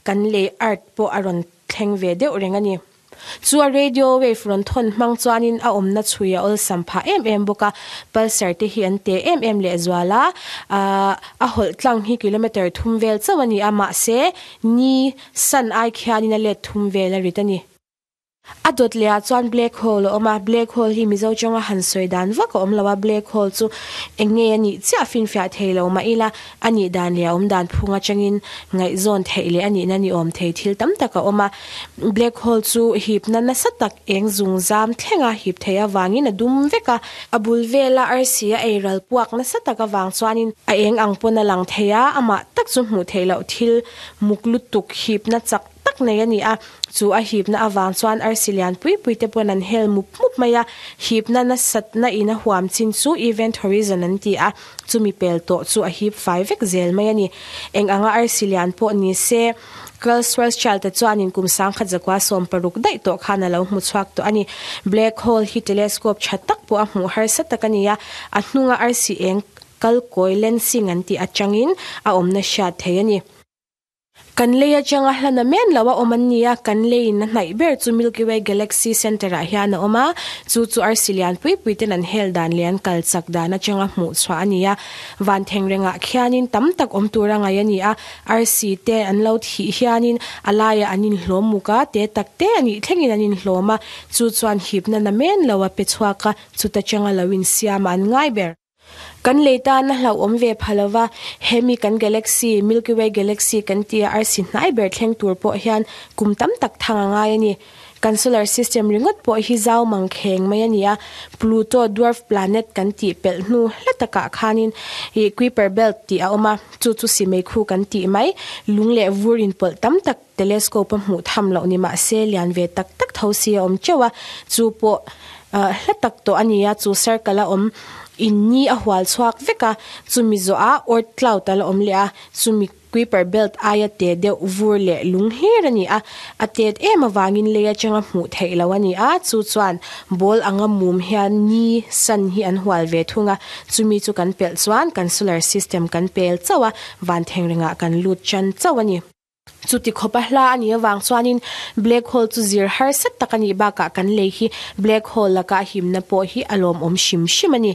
kan lei earth pawh a rawn thleng ve deuh reng a ni. Chu a radio wave rawn thawn hmang chuanin a awmna chhui a awlsam phah em em bawk a, pulsar te hi an te em em lehzual a, a hawlh tlang hi kilometre thum vel chauh a ni a, mahse ni sun ai khianin a let thum vel a rit a ni. A dawt lehah chuan black hole a awm a, black hole hi Mizo tawnga han sawi dan vak a awm lo a, black hole chu eng nge a nih chiah finfiah thei lo mah ila a nih dan leh a awm dan phung atangin ngaihzawn theih leh a nihna ni awm thei thil tam tak a awm a. Black hole chu hipna nasa tak eng zung zam thlenga hip theih avangin a dum vek a, a bul vela arsi a ei ral puak nasa tak avang chuanin a eng ang pawn a lang thei a, amah tak chu hmuh theih loh thil muk lutuk hipna chak tak nei a ni a, chu a hipna avang chuan arsi lian pui pui te pawn an hel mup mup mai a, hipna nasatna in a huam chin chu event horizon an ti a, chumi pel tawh chu a hip fai vek zel mai a ni. Eng anga arsi lian pawh ni se, Carl Schwarzschild-a chuanin kum 1916 daih tawh khan a lo hmu chhuak tawh a ni. Black hole hi telescope tha tak pawh a hmuh harsa tak a ni a, a hnunga arsi eng kal kawi lensing an tih atangin a awmna hriat thei a ni. Kan lei atanga hlana men lo a awm an ni a, kan leiin a hnaih ber chu Milky Way Galaxy Center ah hian a awm a, chu chu arsi lian pui pui ten an hel dan leh an kal chak dan atanga hmuh chhuah a ni a. Van thengrengah khianin tam tak awm tur a ngaih a ni a, arsi te an lo thih hianin a laiah an inhlawm muk a, te tak te a nih thlengin an inhlawm a, chu chuan hipna na men lo a pe chhuak a, chuta changa lo insiam a an ngai ber. Kan lei tan a hlauhawm ve pha lo va, hemi kan galaxy, Milky Way galaxy kan tia arsi hnai ber thleng tur pawh hian kum tam tak thang a ngai a ni. Kan solar system ringawt pawh hi zau mang kheng mai a ni a, Pluto dwarf planet kan tih pelh hnu hla takah khanin ih Kuiper belt tih a awm a, chu chu simeikhu kan tih mai, lung leh vur inpawlh tam tak telescope a hmuh tham loh ni mah se lian ve tak tak tho si a awm teuh a, chu pawh hla tak tawh a ni a, chu circle a awm in ni a hual chhuak vek a, chumi zawhah Oort cloud a la awm leh a, chumi Kuiper belt aia te deuh vur leh lung hlir a ni a, a tet em avangin lei atanga hmuh theih loh a ni a, chu chuan ball anga mum hian ni, sun, hi an hual ve thung a, chumi chu kan pelh chuan kan solar system kan pel chauh a, van thengrengah kan lut tan chauh a ni. Chuti khawpa hla a nih avang chuanin black hole chu zir harsa tak a nih bakah kan lei hi black hole laka himna pawh hi a lawmawm hrim hrim a ni.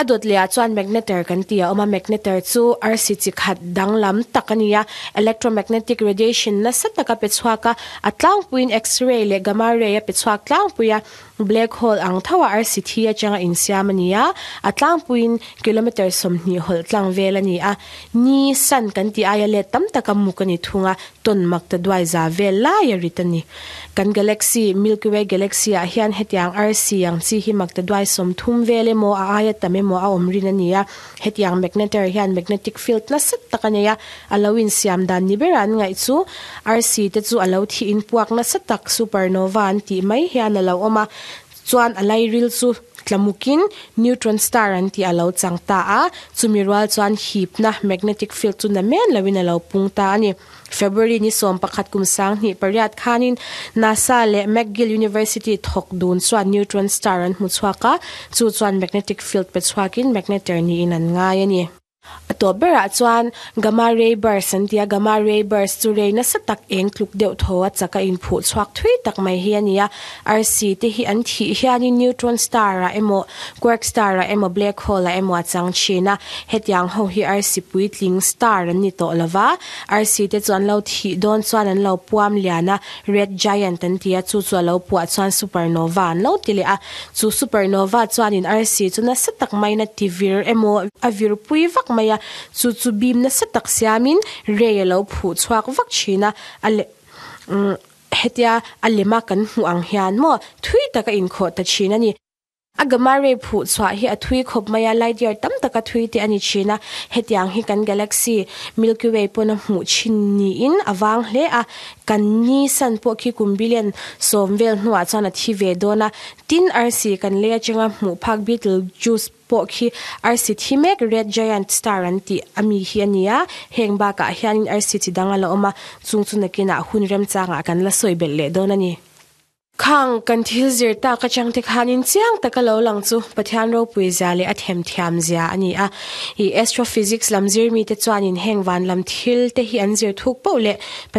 A dawt lehah chuan magnetar kan tih a awm a, magnetar chu arsi chi khat danglam tak a ni a, electromagnetic radiation nasa taka pe chhuak a, a tlangpuiin X-ray leh gamma ray a pe chhuak tlangpui a, Black hole ang tho a arsi thi atanga insiam a ni a, a tlangpuiin kilometre 20 hawlh tlang vel a ni a. Ni, sun, kan tih aia let tam taka muk a ni thung a, tawn mak ta duai za vel lai a rit a ni. Kan galaxy, Milky Way galaxy ah hian hetiang arsi ang chi hi mak ta duai 30 vel emaw a aia tam emaw a awm rin a ni a. Hetiang magnetar hian magnetic field nasa tak a nei a, a lo insiam dan ni bera an ngaih chu arsi te chu a lo thih in puak nasa tak supernova an tih mai hian a lo awm a, chuan a lairil chu tlamukin neutron star an tih a lo chang ta a, chumi rual chuan hipna magnetic field chu na men loin a lo pung ta a ni. February ni 11 kum 2008 khanin NASA leh McGill University thawk dun chuan neutron star an hmu chhuak a, chu chuan magnetic field pe chhuakin magnetar niin an ngai a ni. A tawp berah chuan gamma ray burst an ti a, gamma ray burst chu ray nasa tak eng tluk deuh thaw a chak a inphuh chhuak thui tak mai hi a ni a. Arsi te hi an thih hianin neutron star ah emaw quark star ah emaw black hole ah emaw a chang thin a, hetiang ho hi arsi puitling star an ni tawh lova. Arsi te chu an lo thih dawn chuan an lo puam lian a, red giant an ti a, chu chu a lo puah chuan supernova an lo ti leh a. Chu supernova chuanin arsi chu nasa tak maiin a ti vir emaw a vir pui vak mai a, chu chu beam nasa tak siamin ray a lo phuh chhuak vak thin a, a leh umm hetia a lema kan hmuh ang hian maw thui tak a inkhawh ta thin a ni. A gamma ray phuh chhuah hi a thui khawp mai a, light year tam taka thui te a ni thin a, hetiang hi kan galaxy Milky Way pawn a hmuh thin niin a vang hle a, kan ni sun pawh khi kum billion 10 vel hnuah chuan a thi ve dawn a, tin arsi kan lei atanga hmuh phak Betelgeuse pawh khi arsi thi mek red giant star an tih ami hi a ni a, heng bakah hianin arsi chi dang a la awm a, chung chu nakinah hun remchangah kan la sawi belh leh dawn a ni. Khang kan thil zir tak atang te khanin chiang taka lo lang chu Pathian ropui zia leh a themthiam zia a ni a. I astrophysics lam zir mite chuanin heng van lam thil te hi an zir thuk poh leh.